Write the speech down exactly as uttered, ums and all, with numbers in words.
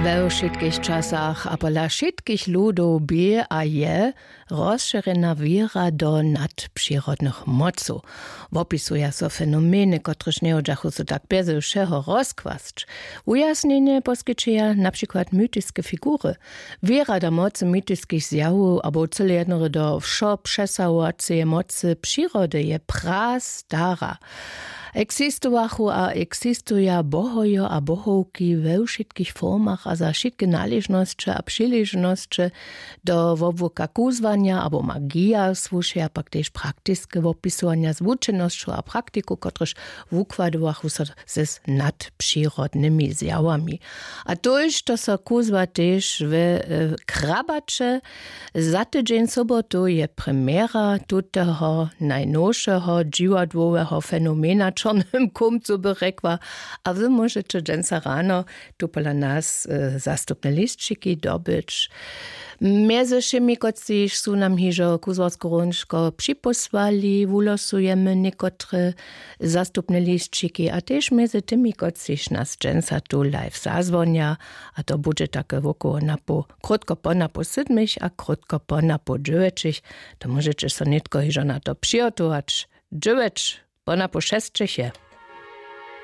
We wšitkich časach a pola wšitkich ludow bě a je rozšěrjena wěra do nadpřirodnych mocow. Wopisuja so fenomeny, kotrež njehodźachu so tak bjeze wšeho rozkłasć. Wujasnjenje poskićeja na přikład mytiske figury. Wěra do mocy mytiskich zjawow abo cyle jednore do wšopřesahowaceje mocy přirody je prastara. Eksistowachu a eksistuja bohojo a bohowki we wšitkich formach a za wšitke naležnosće a přiležnosće. Do wobłuka kuzłanja abo magija słušeja pak tež praktiske wopisowanja z wučenosćow a praktikow, kotrež wukładowachu so z nadpřirodnymi zjawami. A tójšto so kuzła tež we e, Krabaće. Za tydźeń sobotu je premjera tuteho najnowšeho dźiwadłoweho fenomena w Čornym Kómcu, by rjekła. A wy móžeće dźensa rano tu pola nas e, zastupne lisćiki dobyć. Mjezy wšěmi, kotřiž su nam hižo kuzłarske hrónčko připósłali, wulosujemy někotre zastupne lisćiki a tež mjezy tymi, kotřiž nas dźensa tu live zazwonja. A to budźe take wokoło napoł, krótko po napoł sydmich a krótko po napoł dźewjećich. To móžeće so nětko hižo na to přihotować. Dźewjeć po napoł šesćich je.